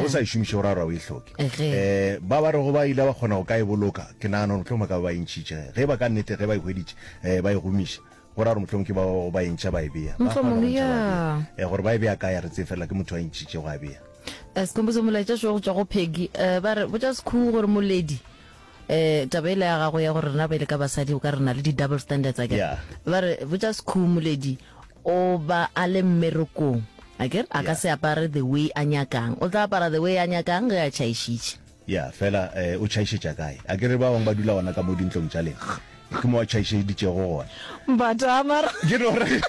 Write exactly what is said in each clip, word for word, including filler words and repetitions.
O sa e šomiše, o ra gore o e hloke. Um ba ba rego ba ile ba kgona go ka e boloka, ke nagana gore mohlomongwe ba ka ba ba e ntšhitše. Ge ba ka nnete ge ba e hweditše, um ba e gomiša, go ra gore mohlomongwe ke ba ba ba e ntšha ba e bea. Ba kgona go ntšha ba bea. Gore ba e bea kae a re tsebe, fela ke motho a e ntšhitšego a bea. Sekhumbuzo, molaetša šo go tšwa go Peggy. Ba re, botša Sekhu gore moledi, um taba ela ya gago ya gore rena ba ile ka basadi o ka re na le di-double standards akere. Yeah. Ba re, botša Sekhu moledi o ba a le mmerekong akere, a ka Yeah. se apare the way a nyakang, o tla apara the way a nyakang ge a tšhaišitše. Ya, fela eh, o tšhaišetša kae? Akere ba bangwe ba dula gona ka mo dintlong tša lena, ke mo a tšhaišeditšego gona. Mbata mara. Ke no re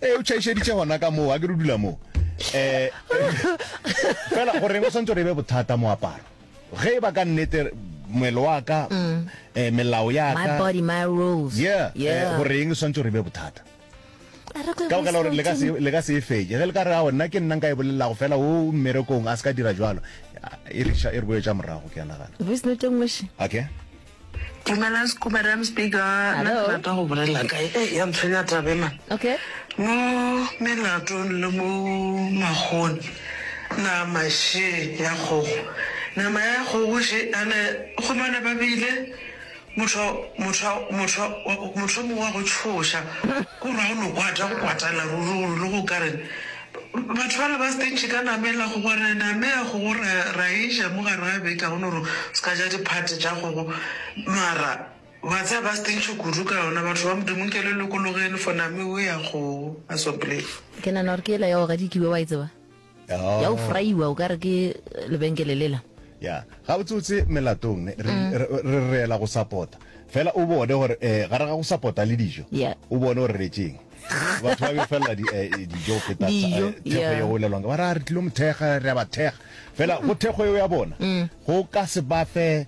ee, o tšhaišeditše gona ka moo, akere o dula moo. Eh, fela goreng o swantse gore e be bothata moaparo? Ge e ba ka nnete moelo wa ka, eh, melao ya My ka, body, my rules. yeah, eh, Yeah. goreng e swantse gore e be bothata? A re kwe Ka baka la voice gore le ka note se le ka se e fetše. Ge le ka re ao nna ke nna nka e bolelago fela o mmerekong a se ka dira jwalo, e re e re boetša morago ke a nagana. Voice note e nngwe še. Okay. Dumelang Sku Madam Speaker, nna ke Hello. rata go bolela ka e ya ntshwenya taba e man. Okay. Mo melatong le mo magong nama še ya kgogo. Nama ya kgogo še ane humana ba bile motho motho motho motho mongwe wa go tshoša ko ra o no kwata go kwatela ruri gore le go ka reng batho bale ba stentšhe ka nama ela kgogo re name ya kgogo ra ra e ja mo gare ga beke ga gona gore se ka ja diphate tša kgogo mara wa tseba ba stentšhe kudu ka yona batho ba modimo nke le lokologeng for name eo ya kgogo a sopleng. Ke nagana gore ke ela ya go gadikiwa wa e tseba ya go Oh. fraiwa o ka re ke lebenkele lela. Ya, gabotsebotse melatong ne re re re reela go support-a. Fela o bone gore eh gare ga go support-a le dijo, Yeah. o bone gore re tšeng. Batho ba befelela di eh, dijo go feta Dijo, eh, thekgo yeah. ye go bolelwang. Ba re a re tlilo mo thekga, re a ba thekga. Fela go thekgo eo ya bona, go ka se ba fe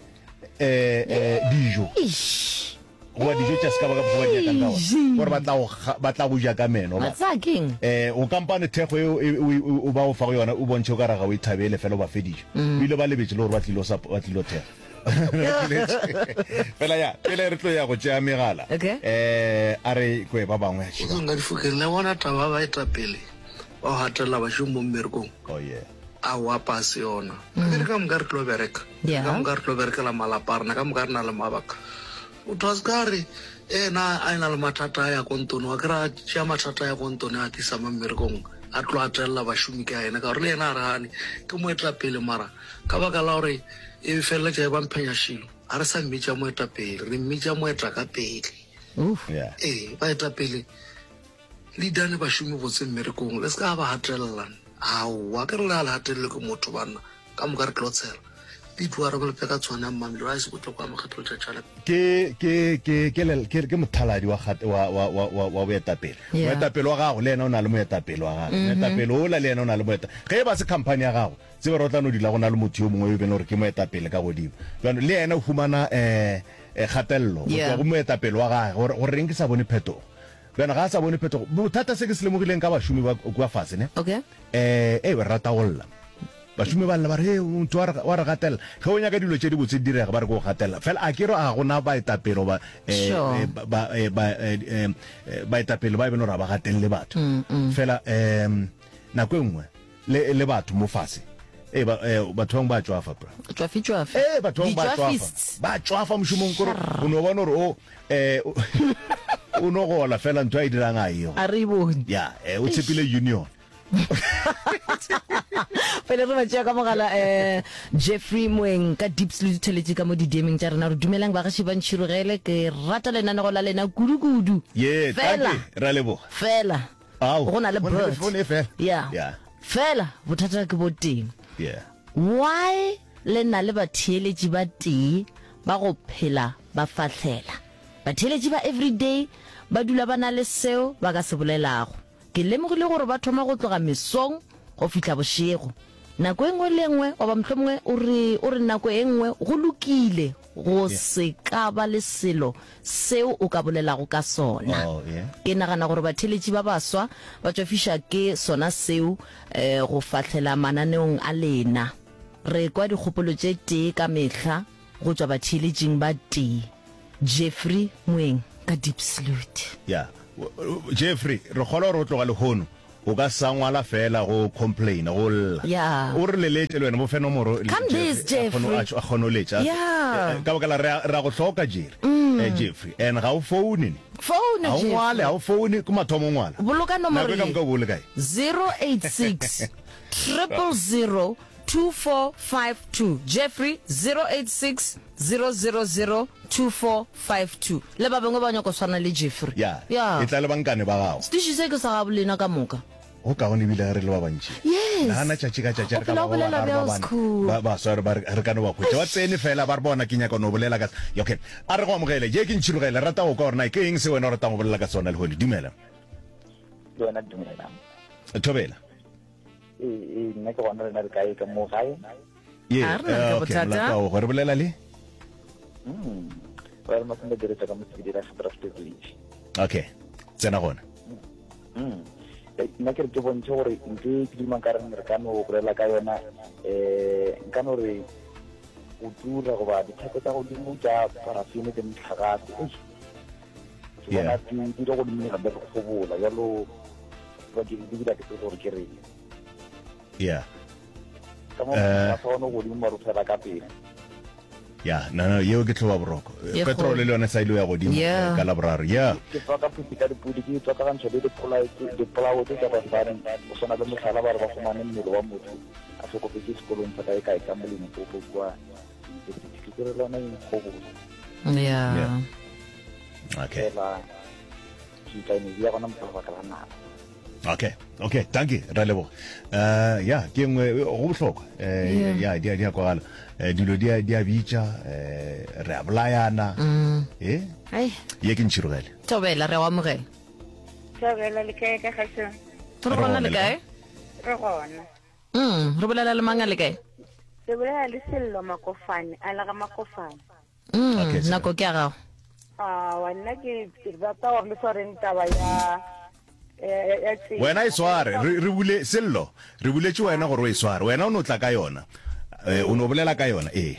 eh eh dijo. Eish. Goba dijo tša se ka ba ka mokgwa ba di nyakang ka gona. Gore ba tla go ga- ba tla go ja ka meno Wa ba. tseba keng? Eh, o kampane thekgo eo e- o, o, o ba go fa go yona o bontšhe o ka re ga o e thabele fela o ba fe dijo. O ile ba lebetše le gore ba tlilo sa ba tlilo thekga. Fela ya, pele re tlo ya go tšea megala. Okay. Eh, a re kwe ba bangwe a Kgotsong ka difokeng le bona taba ya baetapele ba go gatelela bašomi mo mmerekong Oh yeah. aowa pase yona akere ka moka re tlo bereka Yeah. ka moka re tlo berekela malapa a rena ka moka re na le mabaka motho a se ka re ena a ena le mathata a ya kontone wa kry a tšea mathata a ya kontone a tlisa mo mmerekong a tlo atelela bašomi ka ena ka gore le yena a re gane ke moetapele mara ka baka la gore e feleletša e ba mphenyašilo ga re sa mmitša moetapele re mmitša moeta ka pele Oof. Yeah. ee baetapele le dane bašomi botse mmerekong le se ka ba gatelelana aowa ke re le a le gatelele ke motho banna ka moka re tlo tshela pitwa re bolepe ka tshwane ya mmamelo a se botlhokwa mokgatlo tšatšala Ke ke ke ke le- ke ke mothaladi wa kgat- wa wa wa wa wa boetapele. Yeah. Moetapele wa gago le yena o na le moetapele wa gagwe. Moetapele ola le yena o na le moeta. Ge e ba se company ya gago, tsebe gore o tla no dula go na le motho yo mongwe yo e beng gore ke moetapele ka godimo. Bjano le yena o humana eh eh, kgatelelo go Yeah. tšwa go moetapele wa gagwe gore gore reng ke sa bone phetogo. Bjano ga a sa bone phetogo, bothata se ke se lemogileng ka bašomi ba kua fase ne. Okay. Eh, eh, re rata go lla. Bašomi ba lla ba re, "Hei, motho wa re wa re gatelela." Ge o nyaka dilo tše dibotse di direga ba re ke o gatelela. Fela a ke re a gona baetapele goba eh, Sure. eh, ba ba eh, ba eh, eh, baetapele ba e beng gore ga ba gatelele batho. Fela em nako e nngwe le le batho mo fase. Eh ba eh, batho bangwe ba tšwafa bra. Tšwafi tšwafi. Eh batho bangwe ba tšwafa. Ditšwafists. Ba tšwafa mošomong kore o no bona gore o eh o o no gola fela ntho a e dirang a ego. A re e bone. Ya, eh o tshepile union. Pele re ba tšea ka mogala eh Jeffrey Moeng ka Deep le ditheletše ka mo di-D M-eng tša rena re dumelang bagaši ba ntšhirogele ke rata lenanego la lena kudu-kudu. Ye, Fela tanki, ra leboga. fela Ao, go na le go na le bird. phone e fela. Yeah. Yeah. Fela bothata ke bo teng. Yeah. Why le na le batheeletši ba tee ba go phela ba fahlela? Batheeletši ba everyday ba dula ba na le seo ba ka se bolelago. Ke lemogile gore ba thoma go tloga mesong go fihla bošego. Nako e nngwe le e nngwe goba mohlomongwe o re o re nako e nngwe go lokile go se ka ba le selo seo o ka bolelago ka sona. Oh, yeah. Ke nagana gore batheeletši ba baswa ba tšwafiša ke sona seo eh, go fahlela mananeong a lena. Re kwa dikgopolo tše tee ka mehla go tšwa batheeletšing ba tee. Jeffrey Moeng ka Deep Salute. Ya. Jeffrey, re kgolwa gore o tloga lehono O ka sa ngwala fela go complain go lla. Yeah. O re leletše le wena mo fe nomoro Come this, Jeffrey. A kgone go letša. Yeah. Ka baka la re a go hloka Jerry. Eh, Jeffrey. And ga o phone ne. Phone Ga o ngwale, ga o phone ke mathomo o ngwala. Boloka nomoro Nako e ka moka o bo le kae? zero eight six triple zero two four five two Jeffrey zero eight six zero zero zero two four five two Le ba bangwe ba nyako swana le Jeffrey. Ya. Ya. E tla le bankane ba gago. Setiši se ke sa gabo lena ka moka. Go kaone ebile ge re le ba bantši. Yes. Nagana tšatši ka tšatši O re ka phela ba o ba bolela bararo bjalo ba bane Skhoo. ba baswa re ba re re ka no ba hwetša. Ba tsene fela ba re bona ke nyaka no bolela ka se. Okay. A re go amogele. Ye ke ntšhirogele. Rata go kwa gore na ke eng se wena o ratang go bolela ka sona lehono. Dumela. Le wena dumela. Thobela. Ee, ee, nna ke gona lena le kae ka mo gae? Ye, A re na le eh, ka okay, bothata. molato wa go re bolela le? Mm. Ba re masome diretsa ka mosebedi la Gedraft Village. Okay. Tsena gona. Mm. Eh, nna ke re ke bontšhe gore ntho e ke duma ka reng re ka no bolela ka yona um nka no re go tura goba ditheko tsa godimo tša parafene le motlakase eish, ke bona Yeah. di di le godimo gape re kgobola jalo bakeng di dira ke tsebe gore ke reng Yeah. ka mo Eh. motlakase one o godimo mare o fela ka pele Ya, no no, yeo ke tlhoba boroko. Ye Petrol kgolo. le yone sa ile ya godimo Yeah. eh, ka Laboraro. Yeah. ke tswa ka phuti ka dipudi ke tswakagantšha le dipolao dipolao tse tsa basadi go swana le mohlala ba re ba fumane mmele wa motho a hlokofetše sekolong sa kae kae ka mo Limpopo kua university ke re le yona e nkgobola Yeah. Yeah. Okay. fela ke tla ene ya gona mo ka lebaka la nako Okay. Okay, dankie, ra leboga. Eh ya, ke nngwe go bohlokwa. Eh ya, di a di a kwagala. Eh dilo di a di a bitša, eh re a bolayana. Eh? Ai, Ye ke ntšhirogele. Thobela re a o amogela. Thobela le kae ka kgašong? Re Re gona gona le le kae? Re gona. Mm, re bolela le mang a le kae? Re bolela le Sello Makofane, a le ga Makofane. Mm, Okay, Sello. nako ke ya gago. Awa, nna ke ke rata gore le swareng taba ya ya ya- ya tsela. Wena e sware, re re bule Sello, re buletše wena gore o e sware. Wena o no tla ka yona. Eh o no bolela ka yona, ee.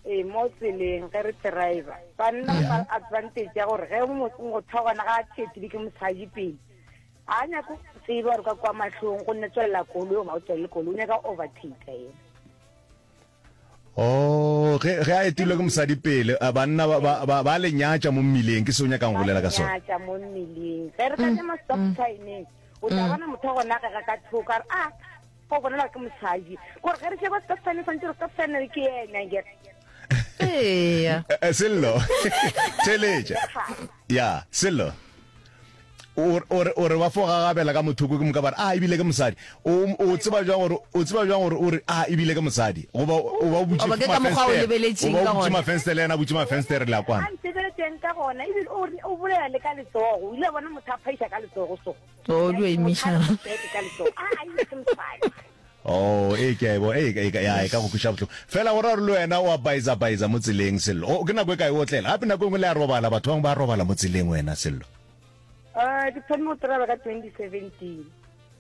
Ee, mo tseleng ge re driver. Banna ba advantage ya gore ge mo- motho wa gona ga a thetile ke mosadi pele. A nyake go tseba gore ka kwa mahlong go nne tswelela koloi goba o tswelele koloi, o nyaka overtake yena. Oh, ge ge a etilwe ke mosadi pele, a banna ba ba ba, ba le nyatša mo mmileng, ke se o nyakang go bolela ka sona. Nyatša mo mmileng. Ge re ka ema stop sign-eng, o tla bona motho wa gona ge ga ka thoko a re, ah, go bonala ke mosadi. Kore ge re sheba stop sign, swantse re stop sign ke yena akere. Eya. Eh, eh, Sello, theletša. Ya, Sello. O o re o re ba fo gagabela ka mothoko ke moka ba re ah ebile ke mosadi. O o tseba jwang gore o tseba jwang gore o re ah ebile ke mosadi. Goba o ba o butše Goba ke ka mokgwa o lebeletšeng O ba ka o butše gona. mafenstere le yena a butše mafenstere le a kwana. A ntebeletseng ka gona ebile o re- o bolela le ka letsogo. O ile a bona motho a phaiša ka letsogo so. O di o emiša. Motho a re ka letsogo. Ah, ebile ke mosadi. Oh, e ke a e bo, e e ya e ka go kweša bohloko. Fela go ra gore le wena o a baiza baiza mo tseleng Sello. O ke nako e kae o otlela? Gape nako e nngwe le a robala, batho ba bangwe ba a robala mo tseleng wena Sello. Eh, ke thomile go driver ka twenty seventeen.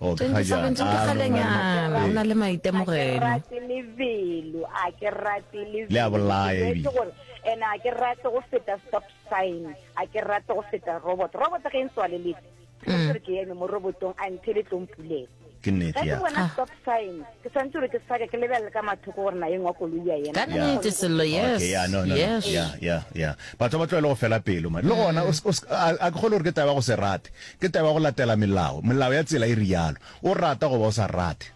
Oh, ke ga twenty jaana. seventeen ke Ah, no, kgalenyana, no, o na no. le A ke maitemogelo. rate lebelo, a ke rate lebelo. Le a bolaya Ke ebile. jwetse gore, and a ke rate go feta stop sign, a ke rate go feta robot. Robot ge e ntswaleletse, ke Mm. re ke eme mo robotong a nthele tlo mpulela. Ke nnete, Ge ke ya. bona stop sign, ke swanetse gore ke sake ke lebelele ka mathoko gore na eng wa koloi ya ema. Ka nnete Sello, yes. Okay, yeah, no, no, no. Yes. Yeah, yeah, yeah. Batho ba tlwaele go fela pelo man. Le gona o s- o s- a a ke kgole gore ke taba ya go se rate. Ke taba ya go latela melao. Melao ya tsela e rialo. O rata goba o sa rate.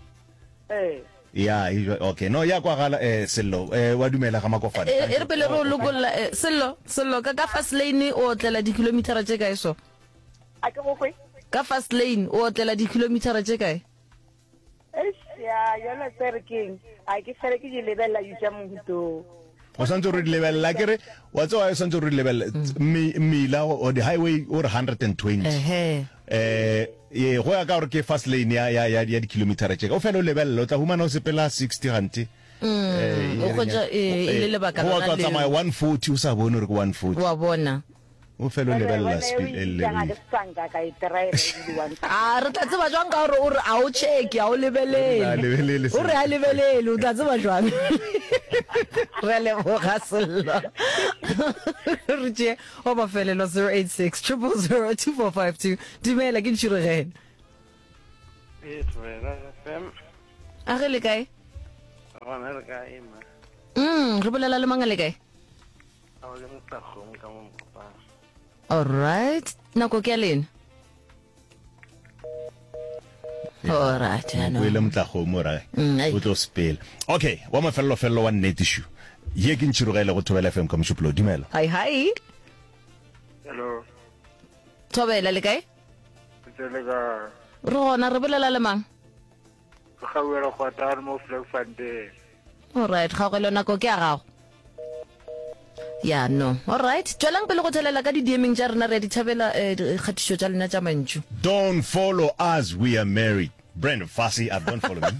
Eh. Ya, e jwa- okay. No, ya kwagala eh Sello. Eh wa dumela ga Makofane. E e re pele re o lokolla eh, Sello, Sello ka ka fast lane o otlela dikilometara tše kae so? A ke go kwe? Ka fast lane o otlela dikilometara tše kae? Eish, ya, yona tse re keng. A ke fele ke di lebelela di tša mohutong. O santse re di lebelela ke re wa tseba o santse re di lebelela mmila o di highway o re hundred and twenty. Ehe. Eh ye go ya ka gore ke fast lane ya ya ya ya dikilometara tše. O fela o lebelela o tla humana o sepela sixty gante. Eh o hwetša, eh, e le lebaka go lona tla leo. tsamaya one forty o sa bone gore ke one forty. Wa bona. O fela o lebelela speed e Ga le. ke sanka ka e drive ebile one. A re tla tseba jwang ka gore o re a o check, a o lebelele. A lebelele O re a lebelele, o tla tseba jwang? Re a leboga Sello. Re tšee wa mafelelo zero eight six triple zero two four five two. Dumela ke Ntšhirogele. Ee, Thobela FM. A ge le kae? Gona re kae ma? Mm, re bolela le mang a le kae? A o le motlakgomo ka mo Mokopane. All right, nako ke ya lena. All right, o ile motlakgomo ra mm, o tlo sepela. Okay, wa mafelelo felelo wa nnete shu. Ye ke ntšhirogele go Thobela FM ka mošupolo. Dumela. Hi hi. Hello. Thobela le kae? Tsele ka. Re gona re bolela le mang? Kgaugelo Kgwatane mo Vlakfontein. Alright, Kgaugelo nako ke ya gago. Ya no. Alright, tšwelang pele go thelela ka di-DMing tša rena re a di thabela eh, dikgatišo tša lena tša mantšu. Don't follow us we are married. Brandon Fassie, I don't follow me.